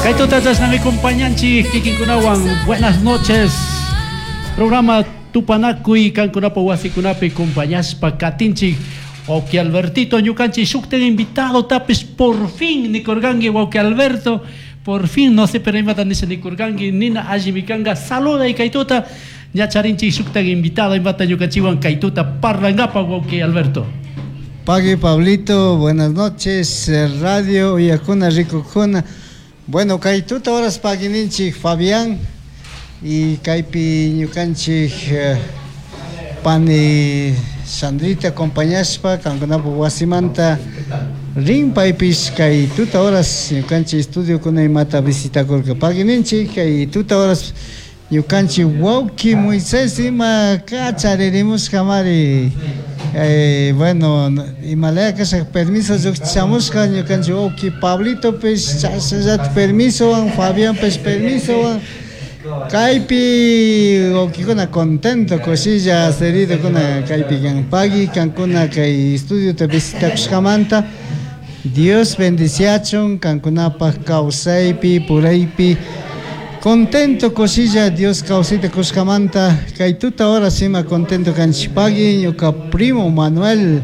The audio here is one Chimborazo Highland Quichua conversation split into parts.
Kay tuta chashnami compañanchik kikinkunawan. Buenas noches. Programa Tupanakuy kankunapa wasikunapi compañashpa katinchik. Wawki Albertito ñukanchik shukta invitado tapish por fin nikurkanki wawki Alberto. Por fin no sé pero imata nisha nikurkanki nina allimi kanka saluday kay tuta. Ña charinchik shukta invitado imata ñukanchikwan kay tuta parlankapa wawki Alberto. Pagui Pablito, buenas noches, radio uyakuna rikukuna. Bueno, kay tuta horas paguininchik Fabián y kaypi ñukanchik pani Sandrita acompañashpa kankunapa wasimanta rin paypish kay tuta horas ñukanchik estudiokuna imata visitakurka. Paguininchik kay tuta horas ñukanchik wawki Moisés ima kacharirimushkamari. Bueno, imalaya kasha permiso llukchamushka ñukanchik wawki Pablitopish chashnallata permisowan, Fabianpish permisowan. Kaypi wawkikuna contento kushilla seridokuna kaypi kan. Pagui kankuna kay estudiota visitakushkamanta. Dios bendiciachun kankunapaj kawsaypi puraypi contento kushilla Dios kawsayta kushkamanta kay tuta horas ima contento kanchik. Pagui ñuka primo Manuel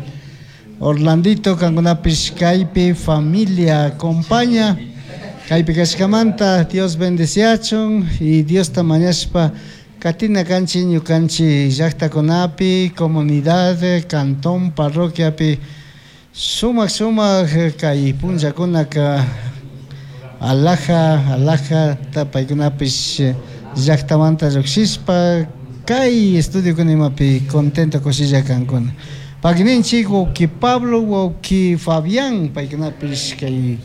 Orlandito kankunapish kaypi familia acompaña kaypi kashkamanta Dios bendiciachun y Diosta mañashpa katina kanchik ñukanchik llaktakunapi comunidad cantón parroquiapi sumak sumak kay punllakunaka alaja alaja paykunapish llaktamanta llukshishpa kay estudiokuna imapi contento kushilla kankuna. Pagninchik wawki Pablo wawki Fabián paykunapish kay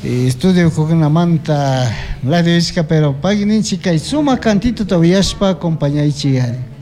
estudiokunamanta radio ishka pero pagninchik kay sumak cantituta uyashpa acompañaychik ari.